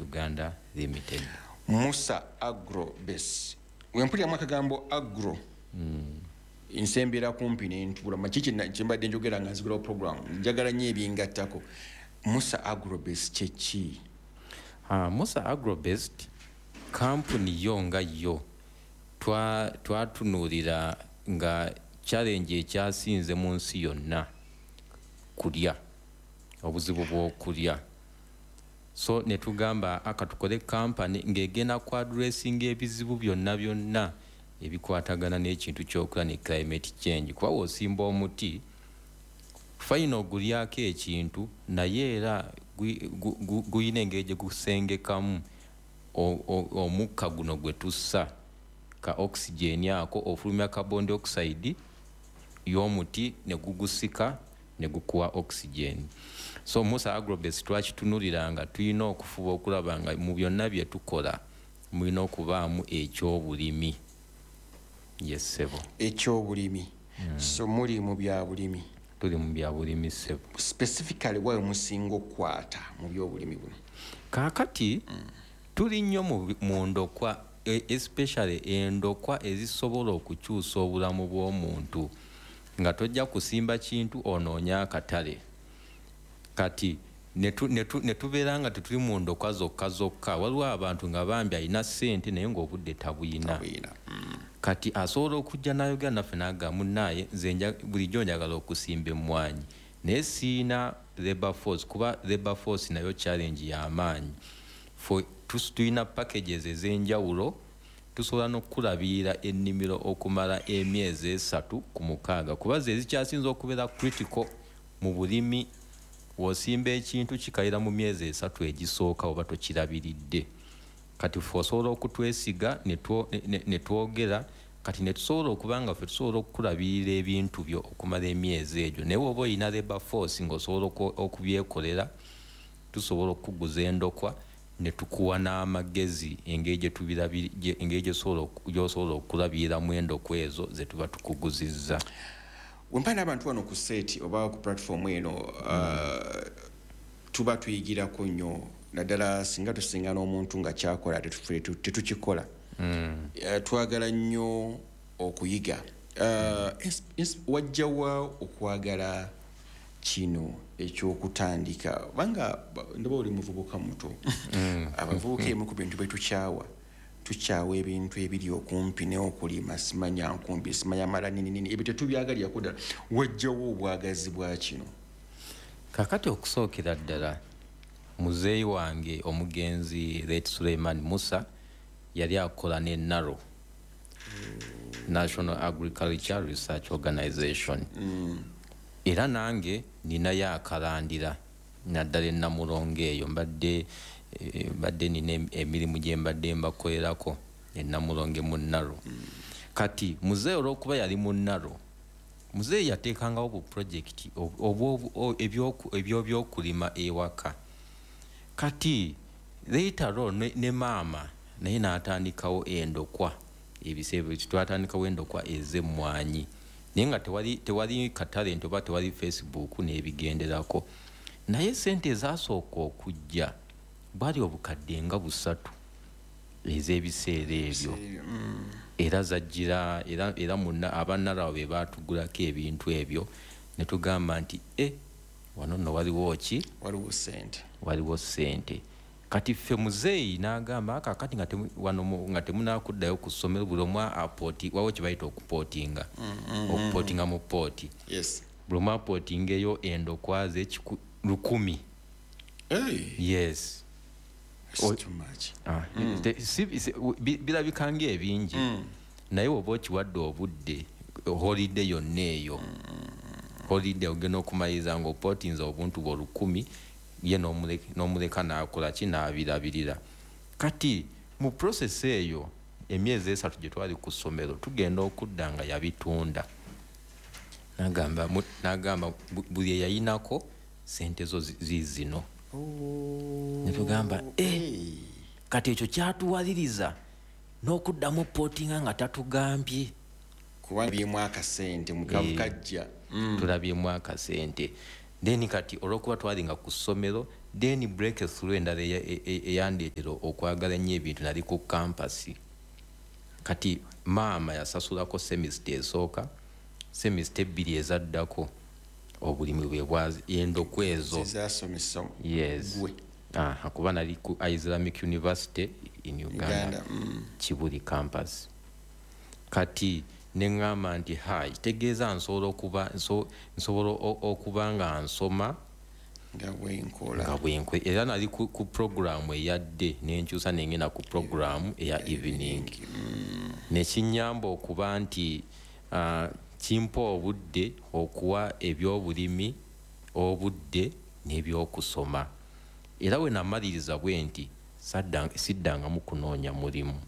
Uganda Limited. Musa Agrobase. Wempuliramu akagambo agro, nsembera kumpi nentula makiki kyembadde njogera nga nzigulawo program. Njagala nnyo ebyengattako. Musa Agrobase kyeki? Musa Agrobased kampuni yo nga yo twatunuulira nga challenge ekyasinze mu nsi yonna kulya, obuzibu bw'okulya. So ne tugamba aka tukole kampani ng'egenda ku addressing ebizibu byonna byonna ebikwatagana n'ekintu ky'okulya ne climate change, kuba w'osimba omuti fine ogulyako ekintu, naye era guyina engeri gye gusengekamu omukka guno gwe tussa, ka oxygen ako, ofulumya carbon dioxide y'omuti ne gugusika ne gukuwa oxygen. So Musa Agrobase twakitunulira nga tulina okufuba okulaba nga mu byonna bye tukola mulina okubaamu ekyobulimi. Yes, ssebo. Ekyobulimi. So muli mu bya bulimi? Tuli mu bya bulimi, ssebo. Specifically wawe musinga okukwata mu byobulimi buno? Kaakati tuli nnyo mu ndokwa, especially endokwa ezisobola okukyusa obulamu bw'omuntu, nga tojja kusimba kintu onoonya akatale. Kati ne tubeera nga tetuli mu ndokwa zokka zokka. Waliwo abantu nga bambi alina ssente naye ng'obudde tabuyina. Tabuyina. Kati asobola okujja n'ayogera naffe n'agamba, "Munnaaye, nze bulijjo njagala okusimba emmwanyi, naye siina labor force," kuba labor force nayo challenge y'amaanyi. Tulina packages ez'enjawulo, tusobola n'okukulabirira ennimiro okumala emyezi 3 ku 6, kuba ze ezikyasinza okubeera critical mu bulimi. W'osimba ekintu kikalira mu myezi 3 egisooka oba tokirabiridde. Kati ffe osobola okutwesiga ne twogera, kati ne tusobola okuba nga ffe tusobola okukulabirira ebintu byo okumala emyezi egyo. Naye woba olina labor force ng'osobola okubyekolera, tusobola okukuguza endokwa ne tukuwa n'amagezi engeri engeri gy'osobola okulabiriramu endokwa ezo ze tuba tukuguzizza. Wempa n'abantu wano ku set oba ku platform eno, tuba tuyigirako nnyo, naddala singa tusinga n'omuntu nga kyakola tetukikola. Twagala nnyo okuyiga. Wajjawa okwagala kino ekyokutandika, kubanga ndaba oli muvubuka muto? Abavubuka emu ku bintu byetukyawa, tukyawa ebintu ebiri okumpi n'okulima, simanya nkumbi, simanya mala nini nini, ebyo tetubyagalirako ddala. Wajjawo obwagazi bwa kino? Kakati okusookera ddala, muzeeyi wange omugenzi late Suleiman Musa yali akola ne NARO, National Agriculture Research Organization. Era nange ninayo akalandira, naddala enamulongo eyo mbadde nina emirimu gye mbadde mbakolerako enamulonge mu NARO. Kati muzeeyi olwokuba yali mu NARO, muzeeyi yateekangawo bu project ebyobyokulima ewaka. Kati later on ne maama naye n'atandikawo endokwa. Ebiseera ebyo twatandikawo endokwa ez'emmwanyi, naye nga tewali katale nti oba tewali Facebook n'ebigenderako. Naye sente ezasooka okujja bwali obukadde nga 300 ez'ebiseera ebyo. Era zajjira era munna abannarawo be baatugulako ebintu ebyo, ne tugamba nti e wano nno waliwo ki? Waliwo sente. Waliwo sente. Kati ffe muzeeyi n'agamba, "Kakati nga wano nga temunakuddayo ku ssomero, buli omu apooti." Waliwo kye bayita okupootinga, okupootinga mu pooti. Buli omu apootingeyo endokwa ze 1,000. Hey, Yes. That's too much. Ah, birabika ng'ebingi, naye oba okiwadde obudde, holiday yonna eyo, holiday ogenda okumaliriza ng'opootinza obuntu bwe 1,000, ye n'omuleka n'akola ki, n'abirabirira. Kati mu process eyo emyezi 3 gye twali ku ssomero, tugenda okudda nga yabitunda. N'agamba buli eyayinako sente zo ziizino. Ne tugamba, "Eh, kati ekyo kyatuwaliriza n'okuddamu pootinga nga tatugambye." Kuba byemu akasente mukavu. Eh. Kajja. Tulabyemu akasente. Then kati olwokuba twalinga ku ssomero, Then breakthrough endala eyandeetera okwagala ennyo ebintu, nali ku campus. Kati maama yasasulako semester esooka, semester 2 ezaddako obulimi bwe bwazi endokwa ezo zezasomesa. Yes. Gwe. Aha, kuba nali ku Islamic University in Uganda, Uganda. Kibuli campus. Kati neŋŋamba nti hai, kitegeeza nsobola okuba nsobola okuba nga nsoma nga bwenkola. Nga bwenkwe. Era nali ku programu eya day, nenkyusa nengenda ku programu eya evening. Nekinyamba okuba nti kimpa obudde okuwa ebyobulimi obudde n'ebyokusoma. Era we namaliriza bwe nti siddangamu kunoonya mulimu.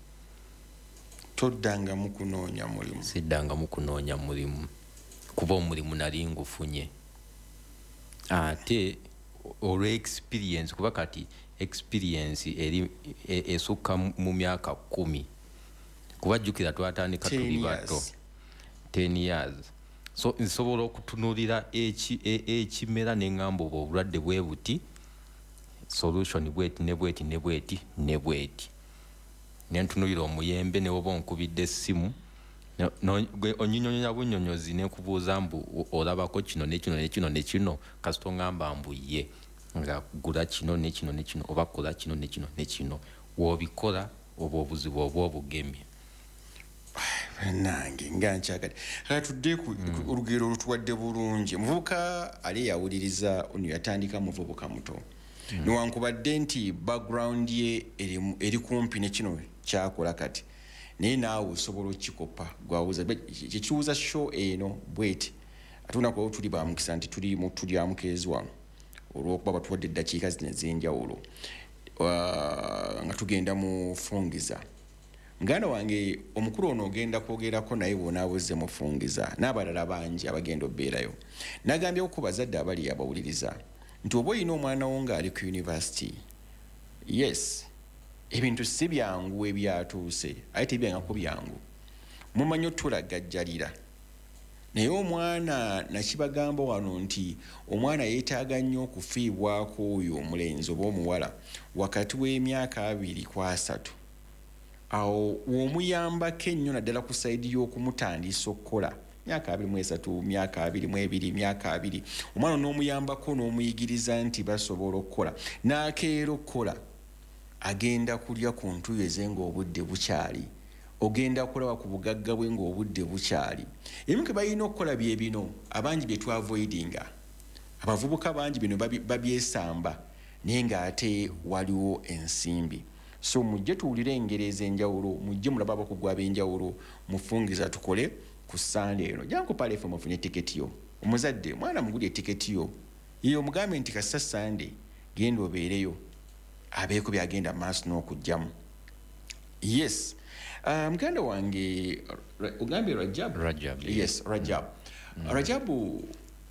Toddangamu kunoonya mulimu? Siddangamu kunoonya mulimu, kuba omulimu nali ngufunye. Ate olw'experience, kuba kati experience eri esukka mu myaka 10, kuba jjukira twatandika Ten tuli bato. years. 10 years. So nsobola okutunuulira ekimera ne ŋŋamba oba obulwadde bwe buti, solution bweti ne bweti ne bweti ne bweti. Ne ntunuulira omuyembe, ne woba onkubidde essimu, gwe onnyinyonnyola bunnyonnyozi ne nkubuuza mbu olabako kino ne kino ne kino ne kino, kasita oŋŋamba mbu ye, nga gula kino ne kino ne kino, oba kola kino ne kino ne kino. W'obikola oba obuzibu oba obugemye. Bannange, nga nkyagadde. Kale tudde ku olugero olutuwadde bulungi. Muvubuka ali yawuliriza ono yatandika muvubuka muto. Newankubadde nti background ye eri kumpi ne kino kyakola kati, naye naawe osobola okukikopa. Gwawuza kyekiwuza show eno bweti. Ate olunaku olwo tuli ba mukisa nti tuli mu tulya mukeezi wano, olw'okuba batuwadde eddakiika zino ez'enjawulo. Nga tugenda mu fungiza. Muganda wange omukulu ono ogenda kwogerako naye bw'onaabuze mufungiza n'abalala bangi abagenda obbeerayo. Nagambye ku bazadde abali abawuliriza nti oba olina omwana wo ng'ali ku university, yes, ebintu si byangu ebyatuuse, aye tebyangako byangu. Mumanyi otulagajjalira. Naye omwana nakibagamba wano nti omwana yeetaaga nnyo okufiibwako oyo omulenzi oba omuwala wakati w'emyaka 2 ku 3. Awo w'omuyambako ennyo naddala ku sayidi y'okumutandisa okukola. Myaka 23, myaka 22, myaka 20. Omwana n'omuyambako n'omuyigiriza nti basobola okukola. N'akeera okukola, agenda kulya ku ntuuyo ze ng'obudde bukyali. Ogenda kulaba ku bugagga bwe ng'obudde bukyali. Ebimu ke balina okukola bye bino, abangi bye twavoidinga. Abavubuka bangi bino babyesamba, naye ng'ate waliwo ensimbi. So mujje tuwulire engeri ez'enjawulo, mujje mulabe abakugu ab'enjawulo, mufungiza tukole ku Ssande eno. Jangu ku Pearl FM ofune tiketi yo. Omuzadde, mwana mugulye tiketi yo. Ye omugambe nti kasita Ssande, genda obeereyo, abeeko by'agenda mu maaso n'okugyamu. Yes. Muganda wange, ogambye Rajab? Rajab, yes. Yes, Rajab. Rajabu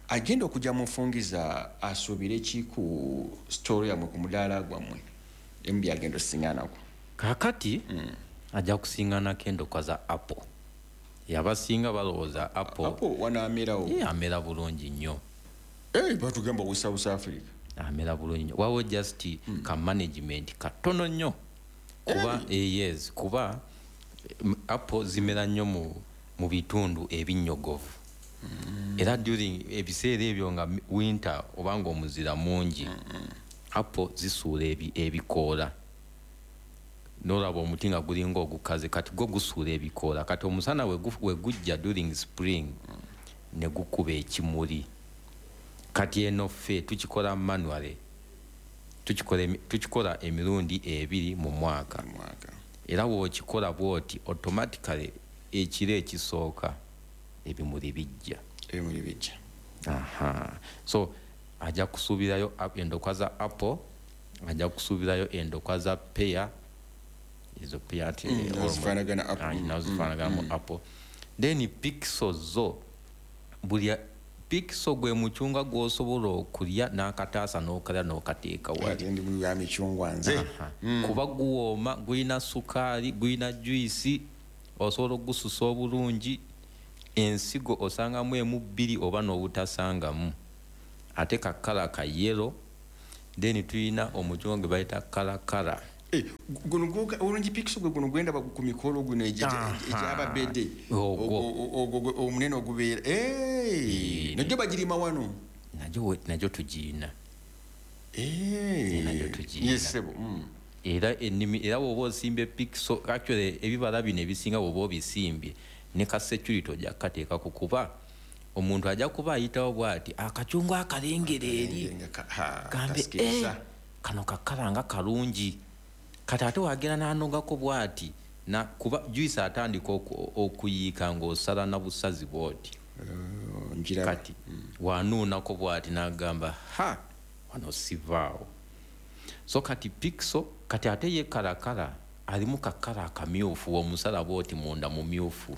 agenda okujja mufungiza asuubire ki ku story yammwe, ku mudaala gwammwe? Emu byagenda osiŋŋanako. Kaakati, ajja kusiŋŋanako endokwa za apple. Yabasinga balowooza apple. Apple wano amerawo. Ye amera bulungi nnyo. Batugamba ku South Africa. Amera bulungi nnyo. Wawo just ka management katono nnyo. Kuba, yes, kuba apple zimera nnyo mu bitundu ebinnyogovu. Era during ebiseera ebyo nga winter oba ng'omuzira mungi, apple zisuula ebikoola. N'olaba omuti nga gulinga ogukaze, kati gwo gusuula ebikoola. Kati omusana we gujja during spring, ne gukuba ekimuli. Kati eno ffe tukikola manually. Tukikola emirundi 2 mu mwaka. Mu mwaka. Era w'okikola bw'oti, automatically ekiro ekisooka ebimuli bijja. Ebimuli bijja. Aha. So ajja kusuubirayo endokwa za apple, ajja kusuubirayo endokwa za pear. Ezo pear ati, Nazo zifaanagana apple. Nazo zifaanagana mu apple. Then pixel zo, buli pixel gwe mucungwa gw'osobola okulya n'akataasa n'okalya n'okateeka wali. Ate ndi mulya micungwa nze. Aha. Kuba guwooma, gulina sukaali, gulina juice, osobola okugususa obulungi. Ensigo osangamu emu 2 oba n'obutasangamu. Ate ka kkala ka yellow. Then tulina omucungwa gwe bayita kalakala. Guno orange pixel gwe guno gwenda ku mikolo guno egyababedde omunene ogubeera najjo bagirima wano. Najjo tugiina. Najjo tugiina. Yes, sebo. Era ennimi era bw'oba osimbye pixel, actually ebibala bino ebisinga bw'oba obisimbye ne ka security ojja kukateekako, kuba omuntu ajja kuba ayitawo bw'ati akacungwa akalengera eri gambe kano kakala nga kalungi, kati ate wagenda n'anogako bw'ati na kuba juice atandika okuyiika ng'osala na busazi bw'oti. Kati wanuunako bw'ati n'agamba ha wano sivaawo. So kati pixel kati ate ye kalakala alimu kakala akamyufu, omusala bw'oti munda mumyufu.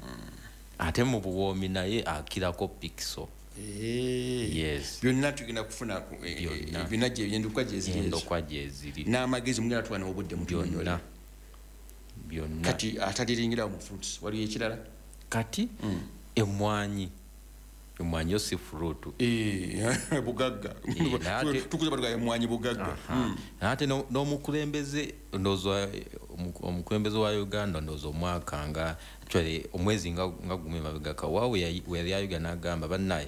Ate mu buwoomi naye akirako pixel. Yes. Byonna tugenda kufuna byonna endokwa gyeziri n'amagezi mugenda tuwa n'obudde mutunyonyola byonna. Kati ataliringira mu fruits waliyo ekirala kati emmwanyi. Emmwanyi yo si fruit. Bugagga. Tukuza batuga emmwanyi bugagga. Ate n'omukulembeze ndowooza omukulembeze wa Uganda ndowooza omwaka nga actually omwezi nga gumu emabega waawe yali ayogera n'agamba bannaye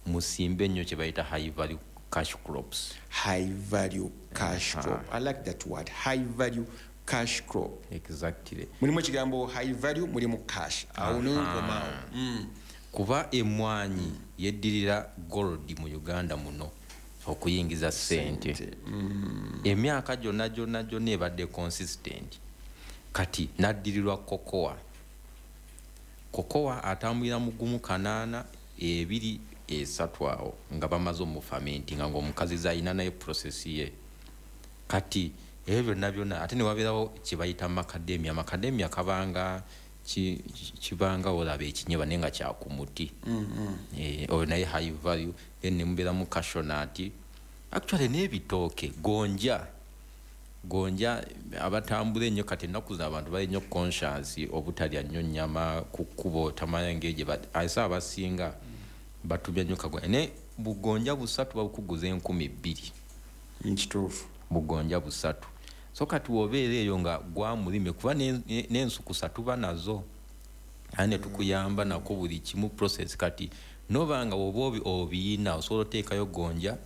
musimbe nnyo kye bayita high value cash crops. High value cash crop. I like that word. High value cash crop. Exactly. Mulimu ekigambo high value, mulimu cash. Awo n'onkomaawo. Kuba emmwanyi yeddirira gold mu Uganda muno okuyingiza ssente. Emyaka gyonna gyonna gyonna ebadde consistent. Kati n'addirirwa kokowa. Kokowa atambulira mu 1 8 2 3 awo nga bamaze omufermentinga ng'omukazi alina naye process ye. Kati ebyo byonna byonna ate ne wabeerawo kye bayita macadamia. Macadamia kabanga kibanga olaba ekinyebwa naye nga kya ku muti. Oyo naye high value. Then ne mubeeramu cashew nut. Actually n'ebitooke gonja. Gonja abatambula ennyo kati ennaku zino abantu bali nnyo conscious obutalya nnyo nnyama ku kkubo tamanya ngeri gye ase abasinga batubya nnyo kagonja. Naye bugonja busatu babukuguza 2,000. Kituufu. Bugonja busatu. So kati wobeera eyo nga gwamulime kuba n'ensukusa tuba nazo ate ne tukuyamba nako buli kimu process. Kati noba nga woba obiyina osobola oteekayo gonja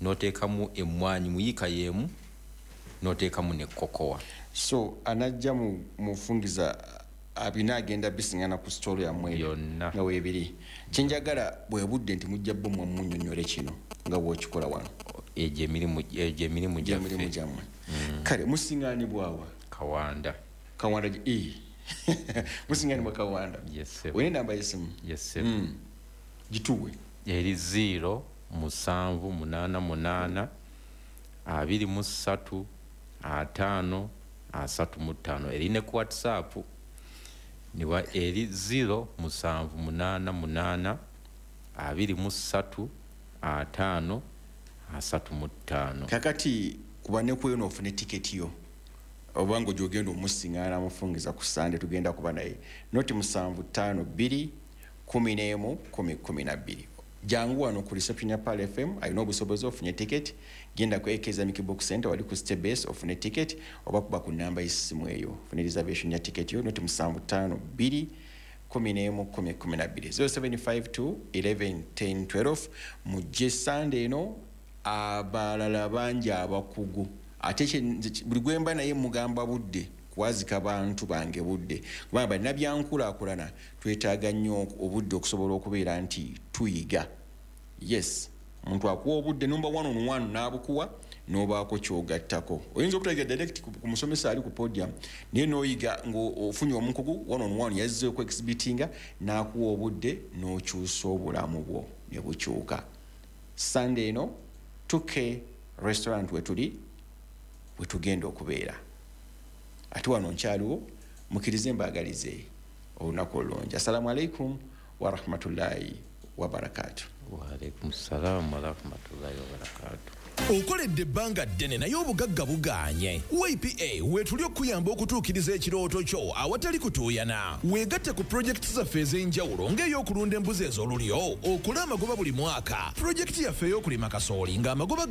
n'oteekamu emmwanyi mu yiika y'emu n'oteekamu ne kokowa. So anajja mufungiza abina agenda bisingana ku story yammwe yonna nga weebiri. Kyenjagala bwe budde nti mujja bo mmwe munnyonnyole kino nga bw'okikola wano. Egyo emirimu gyammwe. Kale musingaanibwawa? Kawanda. Kawanda musingaanibwa Kawanda. Yes sir. Olina enamba y'essimu? Yes sir. Gituwe. Eri 0 7 8 8 23 5 35. Eri ne ku WhatsApp niwa eri 0 7 8 8 23 5 35. Kakati kuba ne kweno ofune tiketi yo obanga gyogenda omusingana mufungiza ku Sunday tugenda kuba naye noti 7 5 2 11 10 12. Jangu wano ku reception ya Pearl FM alina obusobozi ofunye ticket. Genda ku AK Islamic Book Center wali ku Step Base ofune ticket oba kuba ku namba y'essimu eyo ofune reservation ya ticket yo noti 7 5 2 11 10 12 0752 11 10 12. Mujje Sunday eno abalala bangi abakugu ate buli gwemba naye mugamba budde kuwazika bantu bange budde kubanga balina byankulaakulana twetaaga nnyo obudde okusobola okubeera nti tuyiga. Yes, omuntu akuwa obudde number 1 on 1 n'abukuwa n'obaako ky'ogattako. Oyinza obutayiga direct ku musomesa ali ku podium naye n'oyiga ng'ofunye omukugu 1 on 1 yazze oku-exhibitinga n'akuwa obudde n'okyusa obulamu bwo ne bukyuka. Sunday eno 2K restaurant wetuli wetugenda okubeera. Ate wano nkyaliwo mukirize mbaagalize olunaku olulungi. Assalamu alaikum wa rahmatullahi wa barakatuh. Wa alaikum salam wa rahmatullahi wa barakatuh. Okoledde ebbanga ddene naye obugagga bugaanye. YPA weetuli okuyamba okutuukiriza ekirooto kyo awatali kutuuyana. Weegatte ku pulojekiti zaffe ez'enjawulo ng'ey'okulunda embuzi ez'olulyo, okole amagoba buli mwaka. Pulojekiti yaffe ey'okulima kasooli ng'amagoba